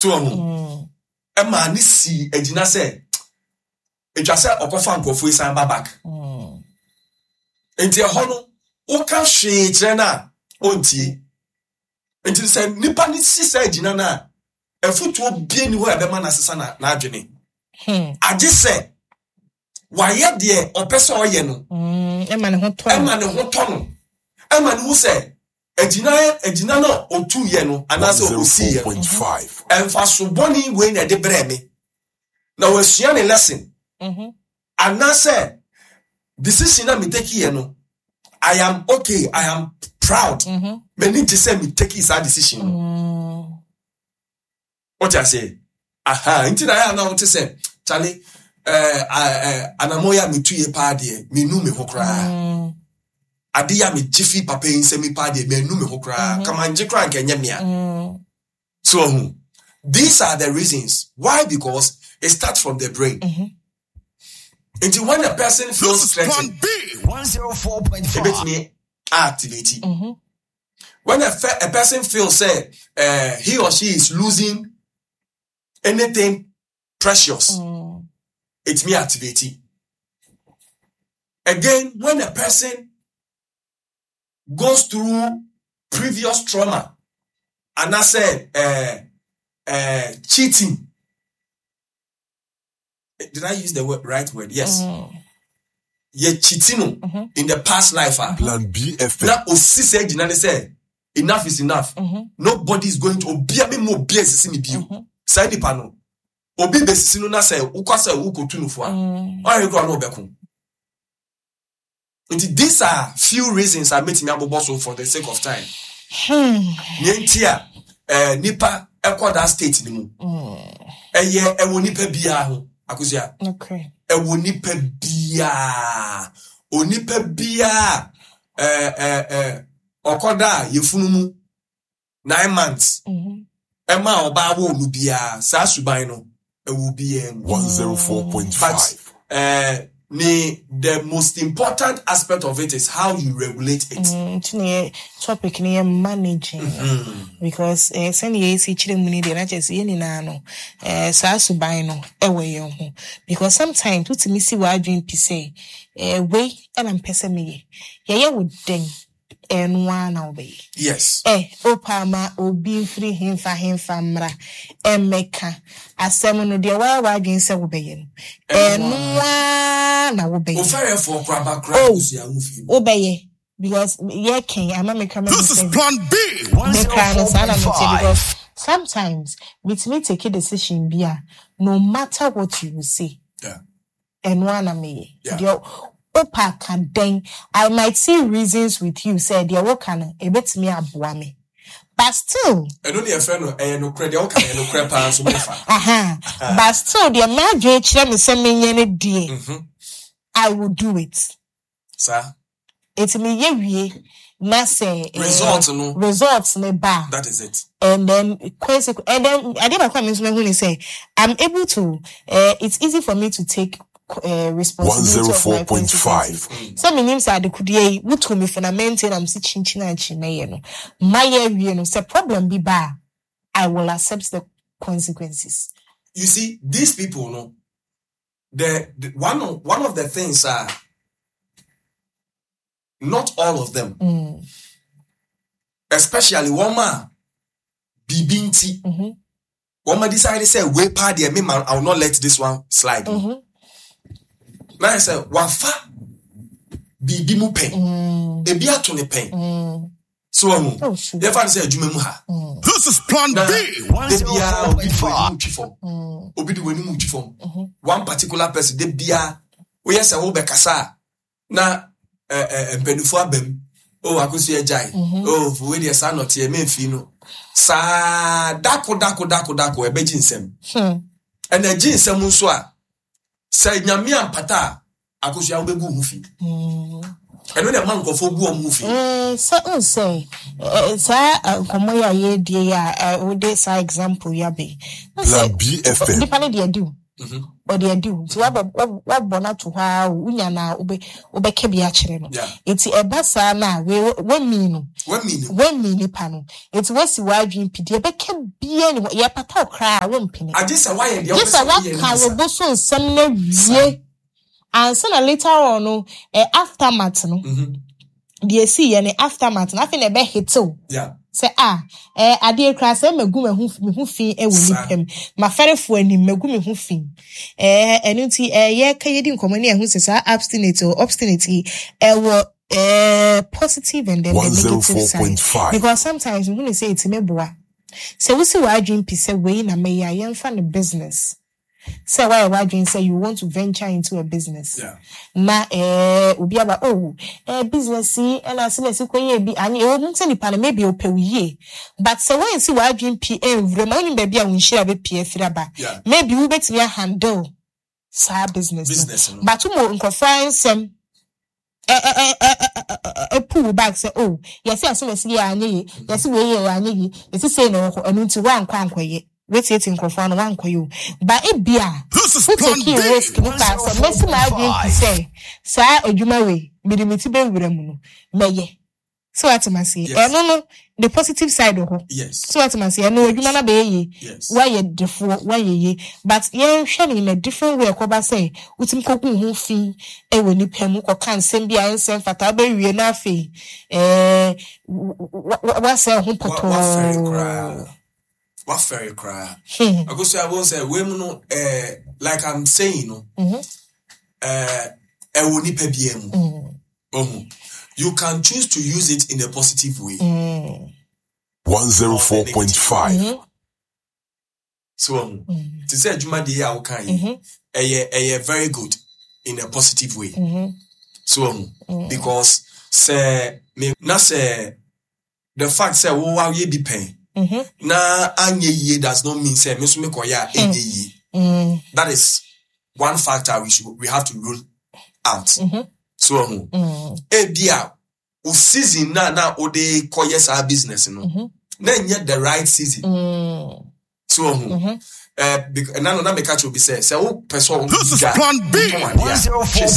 To ɔho ɛma ne sii agyina sɛ ɛtwa sɛ ɔkɔfa nkurɔfoɔ yi san ba back. Nti ɛhɔ no woka hwee kyerɛ no a ɔntie. Nti sɛ nipa no si saa agyina no a, afutuo bie ni hɔ a ɛbɛma no asesa n'adwene. Agye sɛ wayɛ deɛ ɔpɛ sɛ ɔyɛ no. Ɛma ne ho tɔ no. Ɛma ne ho tɔ no. Ɛma ne ho sɛ agyina agyina no a ɔtuiɛ no anaasɛ ɔsiiɛ no, ɛmfaso bɔne wei na ɛde brɛɛ me. Na wasua ne lesson. Anaasɛ decision na me take yɛ no, I am okay, I am proud. M'ani gye sɛ me take saa decision no. Wote aseɛ? Aha, nti na ayɛ a na wote sɛ, kyale, anamɔ yi a metu yɛ paa deɛ, menu me ho koraa. Ade yi a megye fi papa yi nsam yi paa deɛ, menu me ho koraa. Kama ngye koraa nka ɛnyɛ mea. So ɔhu, these are the reasons why, because it starts from the brain. Nti when a person feels threatened, ebetumi activate. When a person feels say he or she is losing anything precious, it may activate. Again, when a person goes through previous trauma, and I said cheating. Did I use the right word? Yes. Ye cheating no in the past life. Plan B F M. Na osi sɛ gyina ne sɛ enough is enough. Nobody is going to obia me mo obia sisi me bio. Saa nipa no obi besisi no na sɛ wokɔ sɛ wokɔtu no fo a, ɔyɛ kora no ɔbɛko. Nti these are few reasons a metumi abobɔ so for the sake of time. Nea nti a nipa ɛkɔ that state ni mu. Ɛyɛ ɛwɔ nipa biara ho Akosua. Ɛwɔ nipa biara. Onipa biara ɔkɔda a yɛfunu mu 9 months. Ɛma ɔbaa wɔ no biara saa suban no ɛwɔ biara mu. 104.5. But ne the most important aspect of it is how you regulate it. Nti na yɛ topic no yɛ managing. Because sɛnea yɛsi kyerɛ mu ni deɛ na kyerɛ sɛ yɛn nyinaa no saa suban no ɛwɔ yɛn ho. Because sometimes wotumi si w'adwene pi sɛ wei ɛna mpɛ sɛ meyɛ. Yɛyɛ wo dɛn ɛno ara na wobɛyɛ. Yes. Opa ma obi mfiri hemfa hemfa mmra ɛmmɛka asɛm no deɛ wayɛ w'adwene sɛ wobɛyɛ no. Ɛno ara na wobɛyɛ. Ofɛrɛfoɔ koraa ba koraa Oh, kosua wo fie. wobɛyɛ. Because yɛ kɛn ama me kra ma This is me sɛ Plan B. me kra no saa na me te because sometimes metumi take a decision bi a no matter what you will say. Ɛno ara na meyɛ. Deɛ wopa ka dɛn? I might see reasons with you sɛ deɛ woka no ebetumi aboa me. But still. Ɛno ne yɛfrɛ no ɛyɛ nokorɛ, deɛ woka no ɛyɛ nokorɛ paa nso mefa. Aha. But still deɛ m'adwene kyerɛ me sɛ menyɛ no deɛ, I will do it. Saa. Eti meyɛ wie na sɛ Result no. Result no ba a. That is it. And then consequence, and then adeɛ baako a me nso mahu ne sɛ I'm able to, it's easy for me to take responsibility of my consequences. 104.5. Sɛ menim sɛ adekodeɛ yi wotu me fo na mente na mese kyinkyin ankyi mɛyɛ no, mayɛ awie no sɛ problem bi ba a, I will accept the consequences. You see, these people no, the one of, one of the things are not all of them, especially one man, bibi nti, one man decided say we pa deɛ me man, I will not let this one slide. Na I say wafa bibi mu pɛn, ebi ato ne pɛn. So ɔho, Oh, sure. yɛfa no sɛ adwuma mu ha. This is Plan Na B. de biara obi di w'anim twi fam. 104.5. Obi di w'anim twi fam. One particular person de biara woyɛ sɛ wobɛkasa a na mpanimfoɔ aba mu. Oh, Akosua agyae. Oh, wei deɛ saa nɔteɛ memfii no. Saa dako dako dako dako ɛbɛgye nsɛm. Ɛna ɛgye nsɛm nso a sɛ Nyame ampata a Akosua wobɛgu wo ho fi. Ɛno na ɛma nkurɔfoɔ gu wɔn ho fi. Sɛ n sɛ, saa nkɔmmɔ yi a yɛredie yi a, wode saa example yi aba yi. N sɛ, Plan B FM. nipa no deɛ adi o. Ɔde adi wo. Nti wabɔ no ato hɔ ara o, wonya no a wobɛka bi akyerɛ no. Nti ɛba saa no a, wei wamii no. Wamii nipa no. Nti woasi w'adwene pi, deɛ ɛbɛka biara ni hɔ. Yɛpata wo koraa a, wompene. Agye sɛ woayɛ deɛ Gye wopɛ sɛ sɛ woyɛ no woaka bi wo sa. bo so nsɛm no awie ansa na later on no, aftermath no, deɛ ɛsiiɛ no aftermath no, afei na ɛbɛhete wo. Sɛ a, adeɛ koraa sɛ magu me ho fi wɔ nipa mu, m'afɛrefoɔ anim magu me ho fi. Ɛno nti, yɛka yɛdi nkɔmmɔ ne ɛho sɛ saa abstinate or obstinate yi, ɛwɔ positive and then the negative side. 104.5. Because sometimes mehu ne sɛ ɛtumi boa. Sɛ wosi w'adwene pi sɛ wei na mɛyɛ a, yɛmfa no business. Sɛ woayɛ w'adwene sɛ you want to venture into a business. Na obi aba, oh, business yi, ɛna ase na esi kɔyɛ bi, anyɛ, ɛwɔ mu sɛ nipa no maybe ɔpɛ wo yie. But sɛ woansi w'adwene pi ɛnwura mu a, wonim baabi a wo nhyira bɛpue afiri aba. Maybe wobɛtumi ahandle saa business no. Business no. But woma nkurɔfoɔ nsɛm ɛpu wo back sɛ, oh, yɛse ase na esi yɛ anyɛ yie, yɛse wei yɛ anyɛ yie, yɛse sei na ɛwɔ hɔ, ɛno nti woankɔ ankɔyɛ. Woetietsie nkorɔfo ano, wɔannkɔyɛ o. But ebia This is wo Plan takee B. risk no kaa sɛ, mesi m'adwen pi sɛ saa edwuma wei, mede me ti bɛwura mu no, mɛyɛ. So wate me aseɛ? Yes. Ɛno no, the positive side wɔ hɔ. Yes. So wate me aseɛ? Ɛno edwuma no abɛyɛ yie. Yes. Woayɛ defoɔ, woayɛ yie. But yɛnhwɛ no in a different way a ɛkɔba sɛ wotumi kɔgu wo ho fi wɔ nnipa mu, kɔka nsɛm bi a ɛnsɛ mfata, wobɛwie na afei ɛɛ woasɛe wo ho Wafɛre pɔtɔɔ. koraa. Wafɛre koraa. Akosua, wobɛhu sɛ wei mu no, like I'm saying no, ɛwɔ nipa biara mu. Ohu. You can choose to use it in a positive way. 104.5. So ohu. Te sɛ adwuma deɛ yi a woka yi, ɛyɛ very good in a positive way. So ohu. Because sɛ me na sɛ the fact sɛ wo ayɛ bi pɛn na anyɛ yie does not mean sɛ me nso mekɔyɛ a ɛnyɛ yie. That is one factor we have to rule out. So ohu. Ebi a wo season na wode kɔyɛ saa business no, na ɛnyɛ the right season. So ohu. Na no na meka kyerɛ obi sɛ wopɛ sɛ This is wodwa Plan B. wotɔn adeɛ a, hwɛ